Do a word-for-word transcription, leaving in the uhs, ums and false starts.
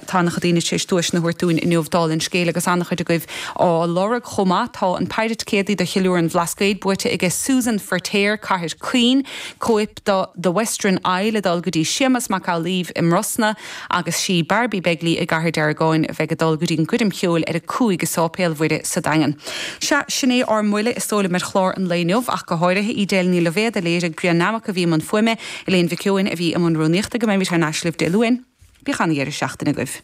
Tá an-chuid daoine tar éis duaiseanna a thabhairt dúinn inniu dála an scéil agus an-chuid agaibh á lorg chomh maith tá an péire ticéadaí do Cheiliúradh an Bhlascaoid buaite aige Susan Ferter Cathair Chaoin, cóip de The Western Isle ag dul go dtí Séamus Mac Amhlaoibh i mBrosna agus sí Barbie Begley i gCathair Deargáin a bheidh ag dul go dtí an Guirm Cheoil ar a cúig i Séipéal Mhuire sa Daingean. Sea sin é ár mbuille is dóigh liom ar chlár an lae inniu ach go háirithe Edel Ní Loibhéad a léirigh Brian Namach a bhí i mbun fuaime, Elaine Mhic Eoin a bhí i mbun rúnaíochta go mbeimid thar n-ais libh Dé Luain, Bíodh an-deireadh seachtaine agaibh.